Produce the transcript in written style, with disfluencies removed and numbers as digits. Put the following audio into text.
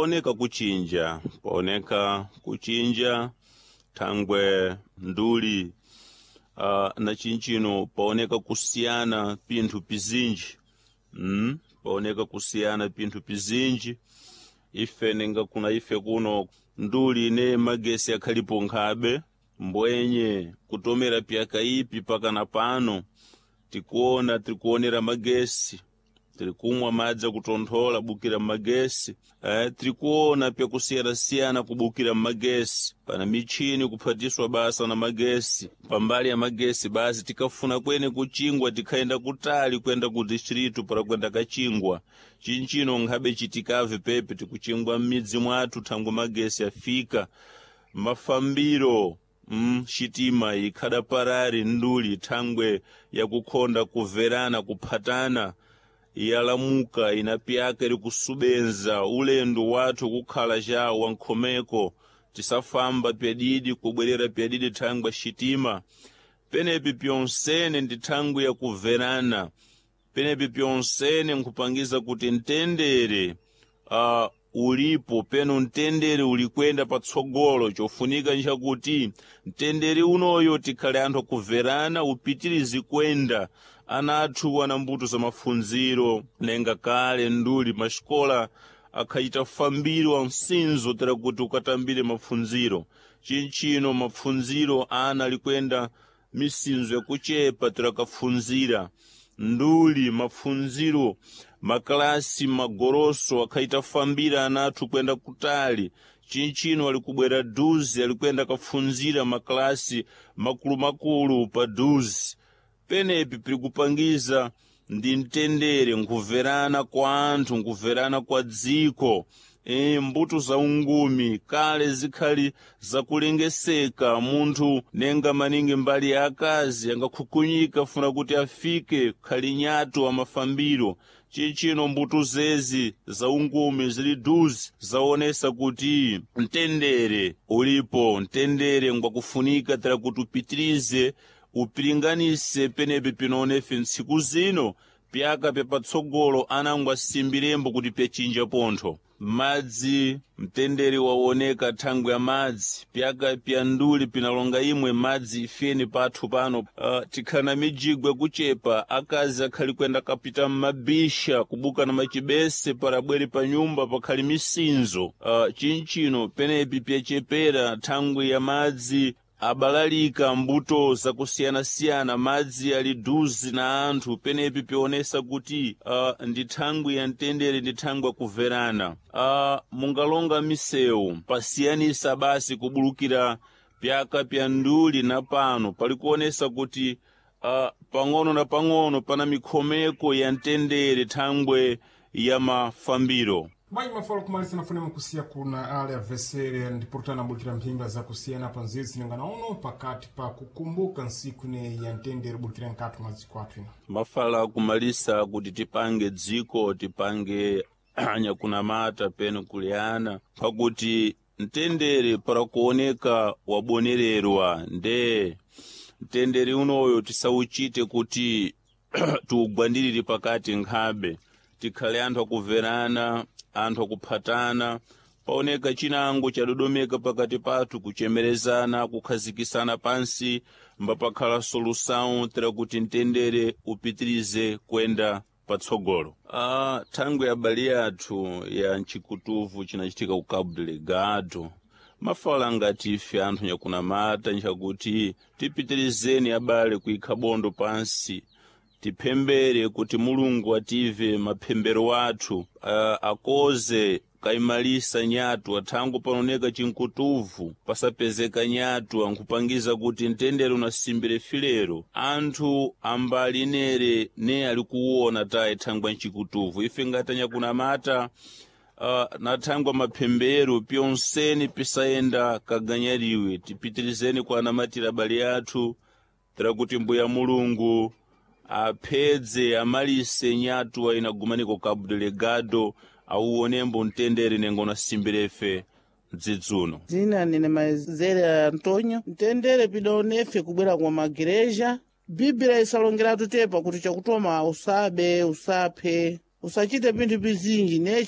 Paoneka kuchinja, paoneka kuchinja thangwe nduli na chinchino paoneka kusiyana pinthu pizinji. Paoneka kusiyana pinthu pizinji. Ife ninga kuna ife kuno nduli ne magesi akhalipo nkhabe mbwenye kutomera pyakaipi pakana pano tikuona tirikuonera magesi, tirikumwa madzi akutonthola bukira mmagesi, tirikuona pyakusiyana-siyana kubukira mmagesi, pana michini kuphatiswa basa na magesi. Pambali ya magesi basi tikafuna kwene kuchingwa tikhayenda kutali kwenda ku distritu para kwenda kachingwa. Chinchino nkhabe chitikave pepe tikuchingwa m'midzi mwathu thangwe magesi afika. Mafambiro xitima ikhada parari nduli thangwe yakukhonda kuverana kuphatana yalamuka inapyaka iri kusubenza ulendo wathu kukhala ca wankhomeko, tisafamba pyadidi kubwerera pyadidi thangwe xitima. Penepi pyonsene ndi thangwe yakuverana, penepi pyonsene nkhupangiza kuti mtendere ulipo peno mtendere ulikwenda patsogolo. Chofunika nchakuti mtendere unoyo tikhale anthu akuverana upitirize kwenda. Ana athu ana mbuto za mafunziro nenga kale nduli maxikola akhayita fambiro wa msinzo tera kuti ukatambire mapfunziro. Chinchino mapfunziro ana alikwenda misinzo yakuchepa tera kafunzira nduli mapfunziro makalasi magoroso akhaita fambira ana athu kwenda kutali. Chinchino alikubwera duzi alikwenda kafunzira makalasi makulumakulu pa duzi. Penepi pirikupangiza ndi mtendere nkuverana kwa anthu, nkuverana kwa dziko. Mbuto za ungumi kale zikhali zakulengeseka, munthu nenga maningi mbali ya akazi angakhukunyika funa kuti afike khali nyatu amafambiro. Chinchino mbuto zezi za ungumi zili duzi zaonesa kuti mtendere ulipo, mtendere ngwakufunika tera kuti upitirize upiringanise penepi pinonefe ntsiku zino pyaka pyapatsogolo anango asimbilembo kuti pyachinja pontho. Madzi mtendere waoneka thangwe ya madzi pyaka pya nduli pinalonga imwe madzi ifeni pathu pano. Tikhala na mijigwe kuchepa, akazi akhali kwenda kapita mmabisha kubuka na machibese para bwere pa nyumba pakhali misinzo. Chinchino penepi pyachepera thangwe ya madzi abalalika mbuto zakusiyana-siyana, madzi ali duzi na anthu. Penepi pionesa kuti ndi thangwi ya mtendere, ndi thangwi yakuverana. Mungalonga misewu pasiyanisa basi kubulukira pyaka pya nduli na pano palikuonesa kuti pang'ono na pang'ono pana mikhomeko ya mtendere thangwe ya mafambiro. Bwanji mafolo kumalisa nafune mukusiya kuna ale avesere ndipurutana bukira mphimba zakusiyana pa nzizi ningana uno pakati pa kukumbuka nsiku ne ya mtendere bukira nkati mwa dziko athu ino. Mafala kumalisa kuti tipange dziko tipange anyakunamata peno kuliyana pakuti mtendere para kuoneka wabonererwa nde mtendere unoyo tisauchite kuti tiugwandirire pakati nkhabe, tikhale anthu akuverana, anthu akuphatana. Paoneka chinango chadodomeka pakati pathu, kuchemerezana, kukhazikisana pansi, mbapakhala solução tera kuti mtendere upitirize kwenda patsogolo. Thangwe abale athu ya mchikutuvu chinachitika ku Cabo Delgado mafala ngati ife anthu nyakunamata nchakuti tipitirizeni abale kuikha bondo pansi, tiphembere kuti Mulungu ative maphembero athu, akoze kaimalisa nyatu athangu panooneka chinkutuvu pasapezeka nyatu ankhupangiza kuti mtendere unasimbire filero. Anthu ambali nere ne ali kuwona tayi thangwa mchikutuvu. Ife ngati anyakunamata na thangwa maphembero pyonseni pisayenda kaganyariwe, tipitirizeni kwa anamatira abale athu tera kuti mbuya Mulungu aphedze amalise nyatu ainagumaniko Cabo Delgado auonembo mtendere nengo nasimbirefe mdzidzuno. Dzina nine Maizere Antonio. Mtendere pidaonefe kubwera kwa magereja. Biblia isalongeratu tepa kuti chakutoma usabe, usaphe, usachite pinthu pizinji ne